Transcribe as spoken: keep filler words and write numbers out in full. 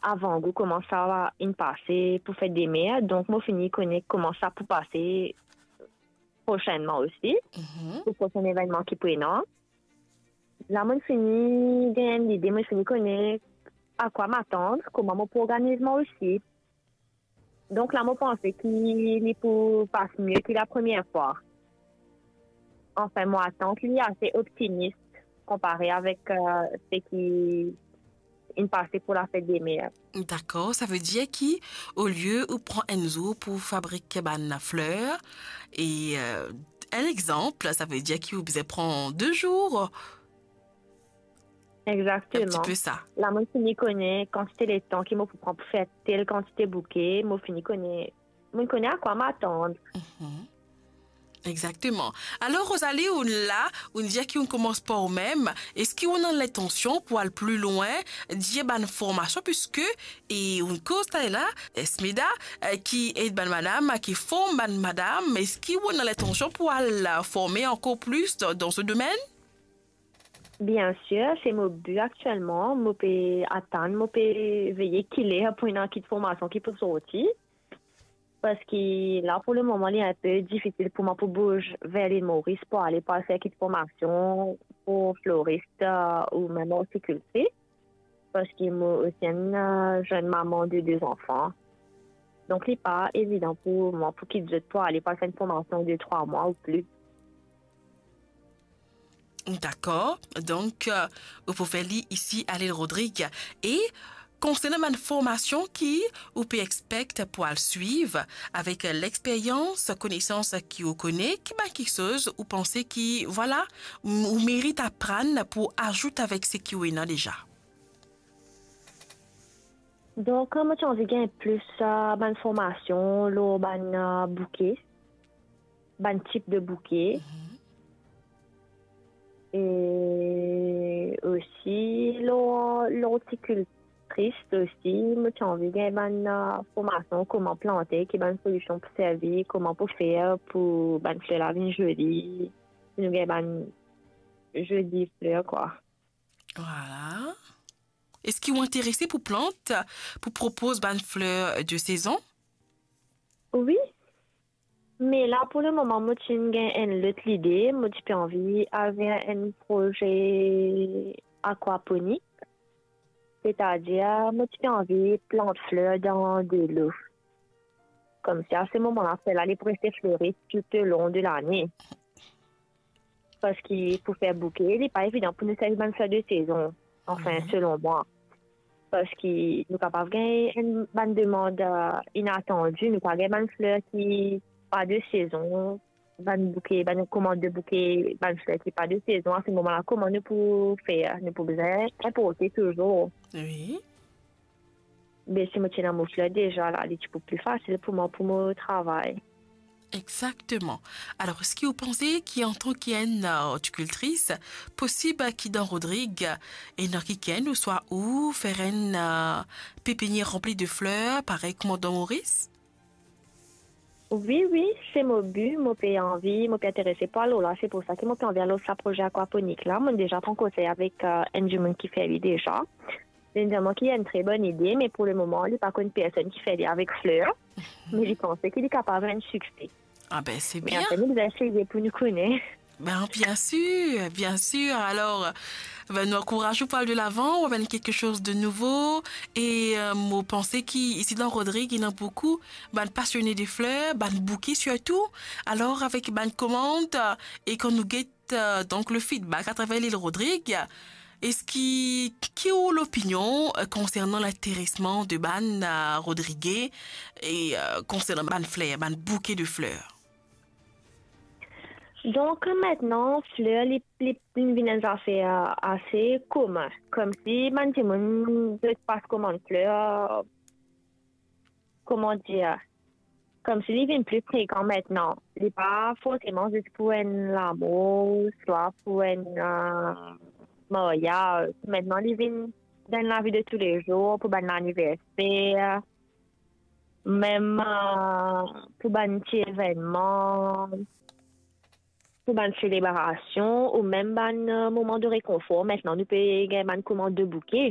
avangou kouma sa inn pase pou fet de mer, donk mo fini kone kouma sa pou pase prosennman osi, Mhm. pou prosenn evennman ki pou ena. La, mo fini gagn enn lide, mo fini kone a kwa m'atann, kouma mo pou organiz mwa osi. Donk la, mo panse ki li pou pas mie ki lapremier fwa. Anfin, mo atant li ase optimis konpare avek, eh, seki inn pase pou lafet de mer. Dakor, sa ve dir ki, olie ou pran enn zour pou fabrik bann fler, e, eh, enn exanp, sa ve dir ki ou bizin pran de zour. Enn ti Exakteman. pe sa. La, mo fini kone kantite letan ki mo pou pran pou fer tel kantite bouke, mo fini kone, mo kone a kwa m'atann. Mhm. Exakteman. Alor, Rosalie, ou la, ou dir ki ou koumans par ou mem. Eski ou ena lintansion pou al pli lwin, dir bann formasion, piske, e ou koz tala, Esmeda, eh, ki ed bann madam, ki form bann madam, eski ou ena lintansion pou al, eh, forme ankor plis dan, dan se domenn? Bien sir, se mo bi aktielman. Mo pe atann, mo pe veye ki ler pou ena kit formasion ki pou sorti. Parski la, pou lemoman, li enpe difisil pou mwa pou bouz ver Lil Moris pou ale pou al fer kit formasion pou floris, eh, ou mem ortikiltris. Parski mo osi enn, eh, zenn mama de de zanfan. Donk, li pa evidan pou mwa pou kit zot pou ale pou al fer enn formasion de trwa mwa ou plis. Dakor. Donk, eh, ou pou fer li isi a Lil Rodrig. E konsernan bann formasion ki ou pe expect pou al swiv, avek lexperyans, konesans ki ou kone, ki bann kiksoz ou panse ki, vwala, m-, ou merit aprann pou azout avek seki ou ena deza? Donk, mo ti anvi gagn plis, eh, bann formasion lor bann, eh, bouke, bann tip de bouke. Mhm. E osi, lor, lor ortikiltris osi, mo ti anvi gagn bann, eh, formasion kouma plante, ki bann solision pou servi, kouma pou fer pou bann fler la vinn zoli, pou nou gagn bann zoli fler, kwa. Vwala. Eski ou interese pou plant, pou propoz bann fler de sezon? Wi. Me la, pou lemoman, mo ti gagn enn lot lide. Mo ti pe anvi al ver enn proze akwaponik. Setadir, mo ti pe anvi plant fler dan delo. Koumsa, a se moman la, fler la, li pou reste flori toulong de lane. Parski pou fer bouke, li pa evidan pou nou servi bann fler de sezon, anfin, Mhm. selon mwa. Parski nou kapav gagn enn bann demann, eh, inatandi, nou kapav gagn bann fler ki pa de sezon, bann bouke, bann komand de bouke, bann fler ki pa de sezon. A se moman la, kouma nou pou fer? Nou pou bizin inporte touzour. Wi. Be si mo ti ena mo fler deza la, li ti pou pli fasil pou mwa pou mo travay. Exakteman. Alor, eski ou panse ki antan ki enn, eh, ortikiltris, posib ki dan Rodrig, ena kikenn ouswa ou fer enn, eh, pepinier ranpli de fler, parey kouma dan Moris? Wi, wi, se mo bi, mo pe anvi, mo pe interese pou al lor la, se pou sa ki mo pe anvi al lor sa proze akwaponik la. Mo deza pran konsey avek, eh, enn dimoun ki fer li deza. Li dir mwa ki enn tre bonn ide, me pou lemoman, li pa konn personn ki fer li avek fler, me li panse ki li kapav enn sikse. Ah ben, c'est Me bien. Apre, nou bizin eseye pou nou kone. Ben, bien sûr, bien sûr. Alors, ben, nou ankouraz ou pou al de lavan, ou amenn quelque chose de nouveau. E, euh, mo panse ki isi dan Rodrig, ena boukou bann pasione de fler, bann bouke sirtou. Alor, avek bann komand, euh, e kan nou get, euh, donk, le feedback atraver Lil Rodrig, eski, ki ou lopinion, euh, konsernan linteresman de bann, euh, Rodrige e, euh, konsernan bann fler, bann bouke de fler? Donk, mintnan, fler, li, li, li vinn enn zafer ase komin. Koumsi bann dimoun, zot pas komann fler, kouma dir, koumsi li vinn pli frekan mintnan. Li pa forseman zis pou enn lamour, swa pou enn, euh, maryaz. Mintnan, li vinn dan lavi de toulezour, pou bann laniverser, mem, euh, pou bann ti evennman, pou bann selebrasion, ou mem bann, euh, moman de rekonfor. Mintnan, nou pe gagn bann komand de bouke.